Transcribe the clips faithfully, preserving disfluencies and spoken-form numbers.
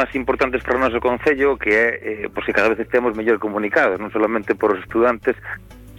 problemas importantes para o noso concello, que é eh, pois que cada vez estemos mellor comunicados, non solamente por os estudantes,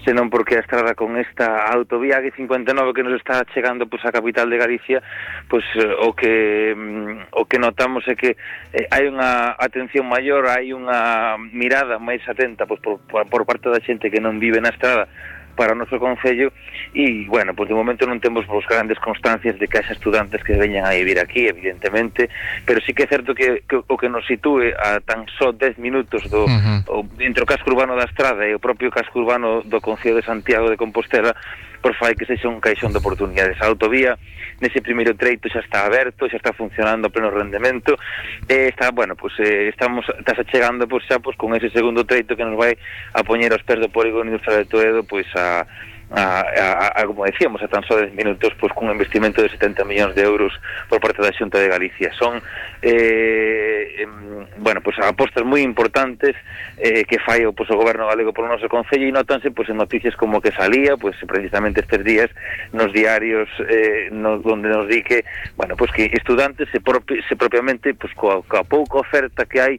senón porque a estrada con esta autovía A cincuenta e nove que nos está chegando pois, a capital de Galicia, pois o que mm, o que notamos é que eh, hai unha atención maior, hai unha mirada máis atenta pois, por, por, por parte da xente que non vive na estrada para o noso concello, e, bueno, pois de momento non temos pois, grandes constancias de que haxa estudantes que veñan a vivir aquí, evidentemente, pero sí que é certo que, que o que nos sitúe a tan só dez minutos do, uh-huh. o, entre o casco urbano da estrada e o propio casco urbano do concello de Santiago de Compostela, por fai que sexa un caixón de oportunidades. A autovía, nese primeiro treito xa está aberto, xa está funcionando a pleno rendemento, e está, bueno, pois eh, estamos, está chegando pois, xa pois, con ese segundo treito que nos vai a poñer aos pés do polígono industrial de Toledo, pois a A, a, a, como decíamos, a tan só dez minutos, pois cun investimento de setenta millóns de euros por parte da Xunta de Galicia. Son eh, eh, bueno, pois apostas moi importantes eh, que fai o, pois, o goberno galego por o noso concello, e notanse pois en noticias como que salía, pois precisamente estes días nos diarios eh, no, onde nos di que, bueno, pois que estudantes se, propi, se propiamente pois coa, coa pouca oferta que hai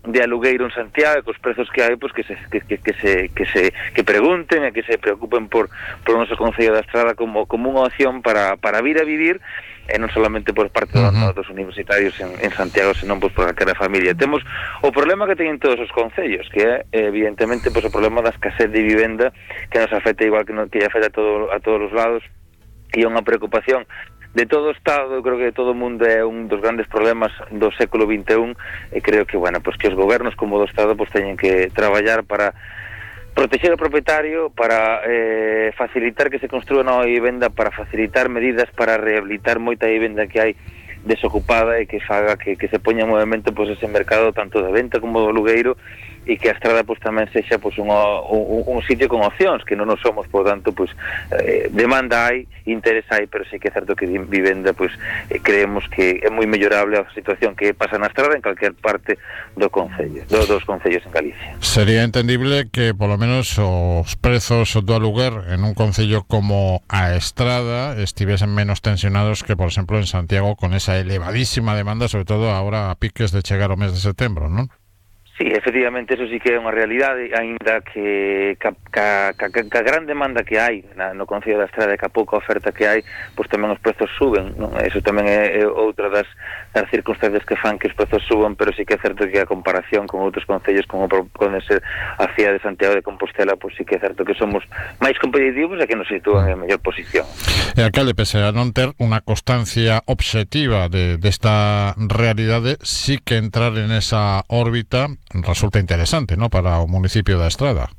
de alugueiro en Santiago, cos prezos que hai, pois que se que, que, que se que se que pregunten e que se preocupen por por o noso concello da Estrada como como unha opción para para vir a vivir, e non solamente por parte uh-huh. dos, dos universitarios en, en Santiago, senón pois por calquera familia. Temos o problema que teñen todos os concellos, que é evidentemente pois o problema da escasez de vivenda, que nos afecta igual que nos que afecta a todo a todos os lados, e é unha preocupación de todo o Estado. Eu creo que de todo o mundo é un dos grandes problemas do século vinte e un, e creo que, bueno, pues que os gobernos como do Estado pues teñen que traballar para proteger o propietario, para eh, facilitar que se construa nova vivenda, para facilitar medidas para rehabilitar moita vivenda que hai desocupada e que faga que, que se poña en movimento pues, ese mercado tanto de venta como do alugueiro, e que a estrada pues, tamén sexa pues, un, un, un sitio con opcións, que non nos somos, por tanto, pues, eh, demanda hai, interés hai, pero sí que é certo que vivenda, pues, eh, creemos que é moi mellorable a situación que pasa na estrada en calquer parte do concello, do, dos concellos en Galicia. Sería entendible que, polo menos, os prezos do aluguer en un concello como a Estrada estivesen menos tensionados que, por exemplo, en Santiago, con esa elevadísima demanda, sobre todo ahora a piques de chegar o mes de setembro, non? Sí, efectivamente, eso sí que é unha realidade, aínda que ca, ca, ca, ca gran demanda que hai na, no Concello da Estrada e ca pouca oferta que hai, pois tamén os prezos suben, non? Eso tamén é, é outra das, das circunstancias que fan que os prezos suban, pero sí que é certo que a comparación con outros concellos como pode ser a cidade de Santiago de Compostela, pois sí que é certo que somos máis competitivos e que nos sitúan en mellor posición. E alcalde, pese a non ter unha constancia obxectiva de, desta realidade, sí que entrar en esa órbita resulta interesante, ¿no?, para o municipio da Estrada.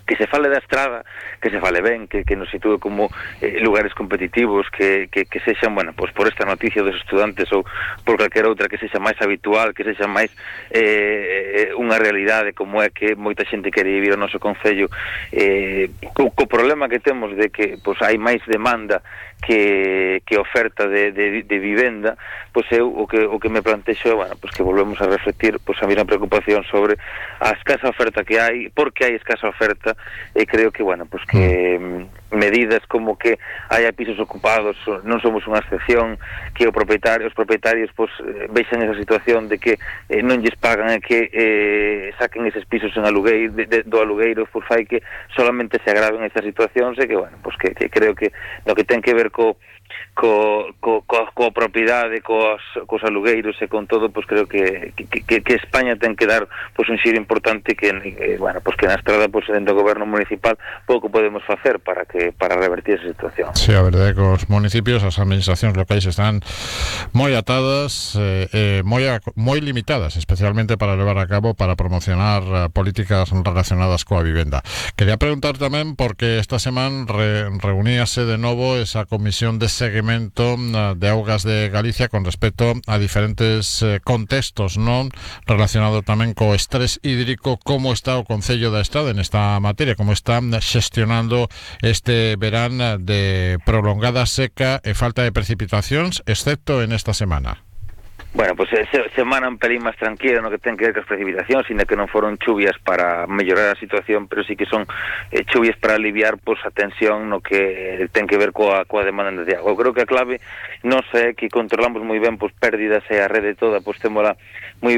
Que se fale da Estrada, que se fale ben, que, que nos sitúe como eh, lugares competitivos, que, que, que sexan, bueno, pues por esta noticia dos estudantes ou por calquera outra que sexa máis habitual, que sexa máis eh, unha realidade como é que moita xente quere vivir o noso concello, eh, co, co problema que temos de que pues, hai máis demanda que, que oferta de, de, de vivenda, pois pues eu o que, o que me plantexo é, bueno, pues que volvemos a refletir pues, a mesma preocupación sobre a escasa oferta que hai, porque hai escasa oferta, e creo que, bueno, pues que mm, medidas como que haya pisos ocupados non somos unha excepción, que o propietario, os propietarios pues, vexan esa situación de que eh, non lles pagan e que eh, saquen eses pisos en alugueiro, de, de, do alugueiro, pues fai que solamente se agraven estas situacións, e que, bueno, pues que, que creo que no que ten que ver co co, co, co, coa propiedade, cos, cos alugueiros e con todo, pues creo que, que, que España ten que dar pues, un xiro importante que, eh, bueno, pues que na Estrada, pues, dentro do goberno municipal pouco podemos facer para que para revertir esa situación. Sí, a verdade é que os municipios, as administracións locais están moi atadas, eh, eh, moi, a, moi limitadas, especialmente para levar a cabo, para promocionar uh, políticas relacionadas coa vivenda. Quería preguntar tamén, porque esta semana re, reuníase de novo esa comisión de seguimento de augas de Galicia con respecto a diferentes eh, contextos, non, relacionado tamén co estrés hídrico. Como está o Concello da Estrada en esta materia? Como está xestionando este verán de prolongada seca e falta de precipitacións, excepto en esta semana? Bueno, pues se, semana un pelín máis tranquila no que ten que ver con as precipitacións, sino que non foron chuvias para mellorar a situación, pero sí que son eh, chuvias para aliviar pues, a tensión no que ten que ver coa, coa demanda de agua. Eu creo que a clave non é que controlamos moi ben pues, pérdidas e a rede toda, pues témola moi ben